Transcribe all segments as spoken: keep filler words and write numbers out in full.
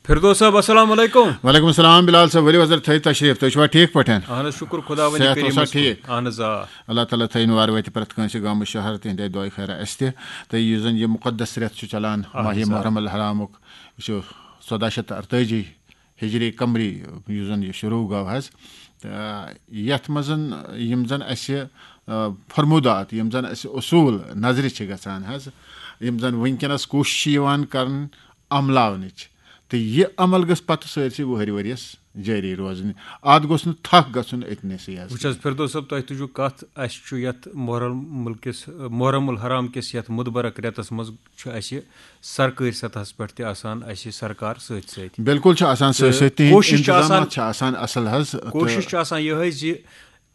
فردوس صٲب، السلام علیکم۔ وعلیکم السلام بلال صٲب، ؤلِو حضرت تھٲیِو تشریٖف، تُہۍ چھِوا ٹھیٖک پٲٹھۍ؟ اہن حظ، شُکُر خۄداوندِ صحت کریٖمَس اوسا کُن۔ ٹھیٖک؟ اہن حظ، آ۔ اللہ تعالیٰ تھٲیِن وارٕ وَتہِ پرٛٮ۪تھ کٲنٛسہِ گامہٕ شہر تِہِنٛدِ دۄیہِ خٲرا اَسہِ تہِ۔ تہٕ یُس زَن یہِ مُقدس رٮ۪تھ چھُ چَلان اہن ماہِ حظ، آ۔ محرم الحرامُک، یہِ چھُ ژۄداہ شیٚتھ تہٕ اَرتٲجی ہِجری قمری یُس زَن یہِ شروٗع گوٚو حظ۔ تہٕ یَتھ منٛز یِم زَن اَسہِ آ، فرموٗدات، یِم زَن اَسہِ اصوٗل نظرِ چھِ گژھان حظ، یِم زَن وٕنکیٚنَس کوٗشِش چھِ یِوان کَرٕنۍ عملاونٕچ، تہٕ یہِ عمل گٔژھ پَتہٕ سٲرسٕے وُہٕرۍ ؤرِیَس جٲری روزٕنۍ۔ اَتھ گوٚژھ نہٕ تھَکھ گژھُن أتنَسٕے حظ۔ وٕچھ حظ فردوس صٲب، تۄہہِ تُجوٗ کَتھ، اَسہِ چھُ یَتھ محرم مُلکِس، محرم الحرام کِس یَتھ مُدبرک رٮ۪تَس منٛز چھُ اَسہِ سرکٲرۍ سطحَس پٮ۪ٹھ تہِ آسان اَسہِ سرکار سۭتۍ سۭتۍ۔ بِلکُل چھِ آسان سۭتۍ تہٕ سۭتۍ، تِہِنٛدۍ کوٗشِش چھِ اِنتظامات آسان، چھِ آسان اَصٕل حظ۔ تہٕ کوٗشِش چھِ آسان یِہوٚے زِ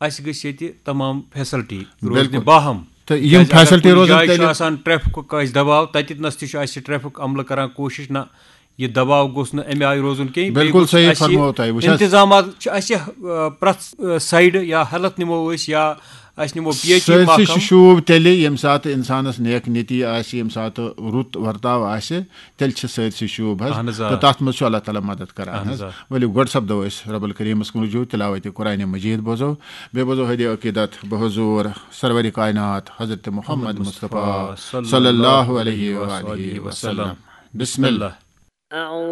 اَسہِ گٔژھ ییٚتہِ تمام فیسلٹی روزنہِ بِلکُل۔ باہم۔ تہٕ یِم کیٛازِ اگر فیسلٹی کُنہِ روزن جایہِ چھُ تیٚلہِ آسان ٹریفکُک آسہِ دباو، تَتِتھ نَس تہِ چھُ اَسہِ ٹریفک عملہٕ کران کوٗشِش، نہ، یہِ دباو گوٚژھ نہٕ اَمہِ آیہِ روزُن کینٛہہ۔ بیٚیہِ بِلکُل گوٚژھ صحیح اَسہِ فرموو تۄہہِ۔ وٕچھ حظ، اِنتظامات چھِ اَسہِ، آ، پرٛٮ۪تھ، آ، سایڈٕ یا ہیلتھ نِمو أسۍ یا اَسہِ نِمو پی ایچ ای سٲرسٕے چھُ محکمہٕ۔ شوٗب تیٚلہِ ییٚمہِ ساتہٕ اِنسانَس نیک نیتی آسہِ، ییٚمہِ ساتہٕ رُت ورتاو آسہِ، تیٚلہِ چھِ سٲرسٕے شوٗب حظ۔ اہن حظ، آ۔ تہٕ تَتھ منٛز چھُ اللہ تعالیٰ مدد کران اہن حظ، حظ۔ آ۔ ؤلِو گۄڈٕ سَپدو أسۍ رب الکریٖمَس کُن رجوع، تِلاوتِ قرآنِ مجیٖد بوزو، بیٚیہِ بوزو ہدیِ عقیٖدت بحضور سرورِ کائنات حضرت محمد مصطفیٰ صلی اللہ علیہ وآلہ وسلم۔ بسم اللہ۔ أعوذ